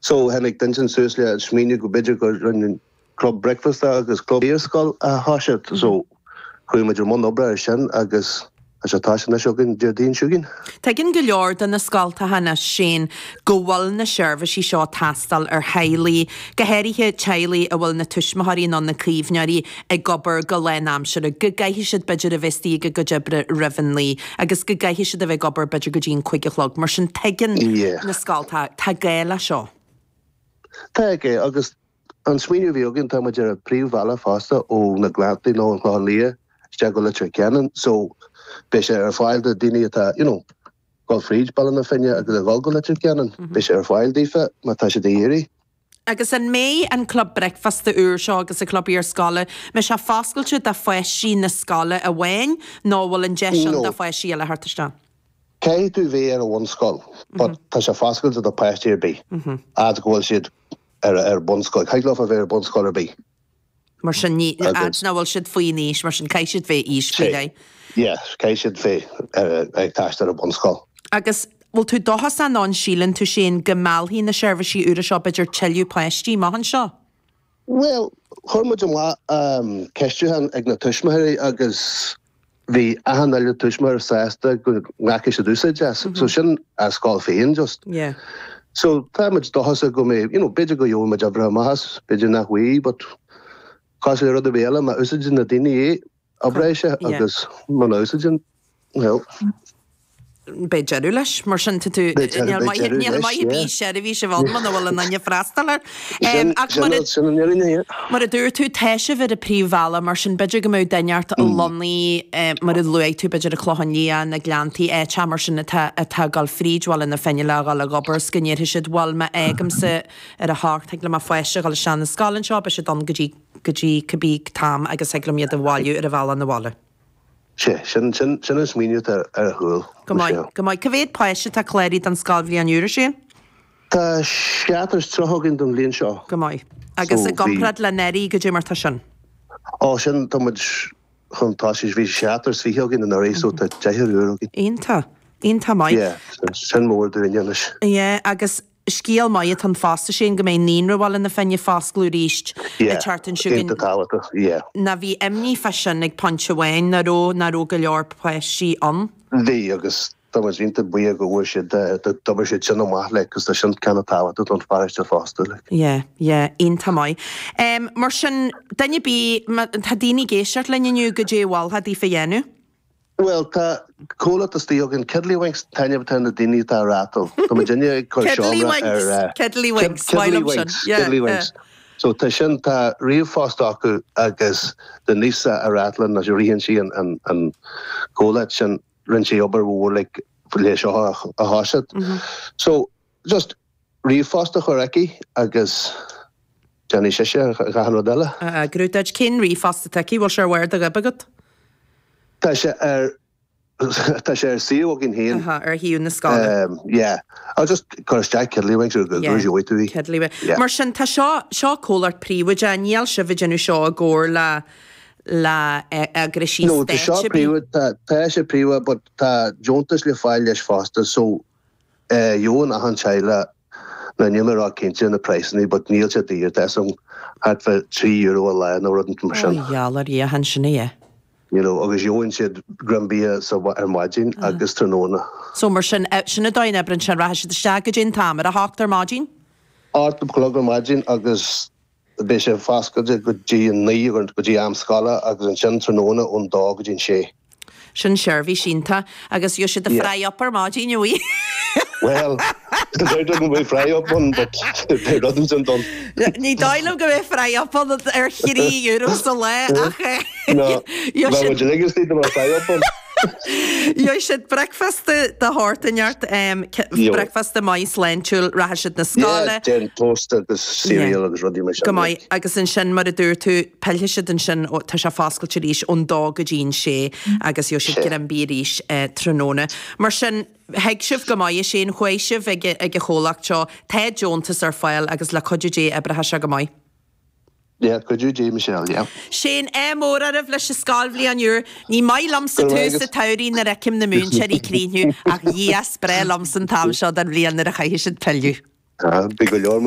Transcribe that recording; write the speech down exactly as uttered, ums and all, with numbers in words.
So tháinig duine suas le smaoineamh go b'fhéidir go rinne club bricfeasta agus club iarscoil a thoiseacht. So chuaigh muid i mbun oibre ar sin agus tá sé tá anois againn Déardaoin seo chugainn. Tuigeann go leor de na scoltacha anois Shane go bhfuil na seirbhísí seo teastáil ar theaghlaigh, go háirithe teaghlaigh a bhfuil na tuismitheoirí nó na caomhnóirí ag obair go lánaimseartha, go gcaithfidh siad b'fhéidir a bheith istigh ag a gcuid oibre roimh an naoi, agus go gcaithfidh siad a bheith ag obair b'fhéidir go dtí an cúig a chlog, mar sin tuigeann Yeah. na scoltacha tá gá le seo. Tá é agus an smaoineamh a bhí againn tá muid ar an príomhbhealach fosta ó na Gleanntaí nó an Clochán Liath isteach go Leitir Ceanainn, so beidh sé ar fáil do daoine atá you know, dul fríd Baile na Finne agus a dhul go Leitir Ceanainn, beidh sé ar fáil daofa má tá siad ag iarraidh. Agus an mbeidh an club bricfeasta úr seo agus an club iarscoile, mbeidh sé foscailte do pháistí na scoile amháin nó bhfuil an deis No. do pháistí eile theacht isteach? Caithfidh tú bheith ar an bhunscoil, but tá sé foscailte do páistí ar bith. Fhad go bhfuil siad ar ar bunscoil, Caithfidh leo a bheith ar bunscoil ar bith. Mar sin ní Agus- nach bhfuil siad faoin aois, mar sin caithfidh siad bheith aois faoi leith. Yeah, caithfidh siad bheith ar ag taisteal ar bunscoil. Agus bhfuil tú dóchasach an síleann tú sin go meallfaidh na seirbhísí úra seo b'fhéidir tuilleadh páistí amach anseo? Well, chuir muid amach um, ceistiúchán ag na tuismitheoirí agus bhí achan uile tuismitheoir sásta go nglacfaidh siad úsáid as. So sin a scoil féin just. Yeah. So tá muid dóchasach go mbeidh, you know, b'fhéidir go gheobhaidh muid oibre amach as, b'fhéidir nach bhfuil, but cosúil le rud ar bith eile má úsáideann na daoine é oibreoidh sé Yeah. agus má úsáideann well, Beidh deireadh leis mar sin tú Beidh deireadh- beidh deireadh níl leis, maith yeah. bí seirbhís a bhil man bhfuil an aine freastal air. sin ach mar a- sin sin an fhírinne, yeah. Mar a dúirt tú tá sibh ar an príomhbhealach mar sin b'fhéidir go mbeadh duine ort lonnaithe mar a luaigh tú b'fhéidir an Clochán Liath na Gleanntaí áit mar sin atá atá ag dul fríd Bhaile na Finne le dhul ag obair 's go ndéarfaidh siad bhfuil má fhágaimse ar a hocht thig le mo pháiste dhul isteach na scoil anseo beidh siad ann go dtí go dtí cibé t-am agus thig liom iad a bhailiú ar an bhealach na bhaile. Sé sin sin sin an smaoineamh ar ar a chúl. Go maith go maith. Cá mhéad páiste tá cláraithe don scoilbhliain úr sin? Tá seachtó is tríocha againn don bhliain seo. Go maith. Agus So, i gcomparáid le anuraidh goidé mar tá sin. Ó sin tá muid chun tá sé bhí seachtó is fiche againn anuraidh so tá deichniúr úr againn. Iontach Iontach maith. Yeah, sin- sin mór dúinn anois. Yeah, agus scéal maith an fosta sin go mbeidh Naíonra Bhaile na Finne foscailte arís Yeah, teart an siúgan Iontach tábhachtach, yeah. na bhí imní fá sin ag pointe amháin nach raibh nach raibh go leor páistí ann. Bhí agus tá muid iontach buíoch go bhfuair siad d'obair siad sin amach le cos tá sin ceann tábhachtach don pharóiste fosta le. Yeah, yeah, iontach maith. Um, mar sin duine bí tá daoine ag éisteacht linn inniu goidé a mholfá daofa dhéanamh. Well tá comhlacht istigh againn Kiddlywinks taitneamh na daoine atá rátal. Tá muid duine ag cur seomra ar eh, Kiddlywinks, Kiddlywinks, Kiddlywinks. So tá sin tá ríomhphost acu agus Denise a Ratlan a ritheann sí an an an comhlacht sin rinne sí obair mhór le le seo a a thoiseacht. So just ríomhphost a chur aici agus déanfaidh sise gach rud eile. Grúdad cén ríomhphost atá aici, bhfuil sé ar bharr do ghoib agat? Tá sé ar tá sé ar suíomh againn féin. Aha, ar shuíomh na scoile. Um, yeah. I'll just cur isteach Kiddlywinks ar Google Yeah. gheobhaidh tú í. Kiddlywinks. Yeah. Mar sin tá seo seo comhlacht príobháideach, níl sibh ag déanamh seo i gcomhar le le eagraisí No, tá seo stáit ar bith. príomha tá tá sé príomha, but tá deontas le fáil leis fosta, so eh gheobhann achan teaghlach na níl mé rá cinnte na praghsanna, but níl sé daor tá sam thart fá trí euro a lá nó rud mar sin. Gheall ar Dhia sin é. You know, agus gheobhann siad greim bia sa ar maidin agus tráthnóna. So mar sin eh, sin an dóigh a n-oibríonn sin rachaidh siad isteach go dtí an t-am ar a hocht ar maidin? Ocht a chlog ar maidin agus beidh sé foscailte go dtí an naoi go dtí am scoile agus ansin tráthnóna ón dó go dtí an sé. Sin seirbhís iontach agus gheobhaidh siad a Yeah. fry up ar maidin a bhí. Well, go mbeidh fry up ann, but beidh rud sin don. Ní dóigh liom go mbeidh fry up ann ar thrí euro sa lá ach eh, No, gheobhaidh siad- legus do fry up ann. Gheobhaidh siad bricfeasta de shórt inteacht Jo. bricfeasta maith sláintiúil rachaidh siad na scoile. Yeah, déan toast agus cereal agus rudaí mar sin. Go maith agus ansin mar a dúirt tú pillfidh siad ansin ó- tá sé foscailte arís ón dó go dtí an sé agus gheobhaidh siad Sé. greim bia arís eh, tráthnóna. Mar sin thuig sibh go maith sin chuaigh sibh ag ag an chomhlacht seo tá deontas ar fáil agus le cuidiú Dé oibreoidh sé go maith. Yeah, cuidiú Dé Michelle, yeah. Sin é mór arah leis an scoilbhliain úr, ní maith liomsa Go raibh tús agus- sa tsamhraidh nuair a fheicim na múinteoirí críniú ach dhías breá liomsa an t-am seo den bhliain nuair a chaithfidh siad pilleadh. Ah, Bhí go leor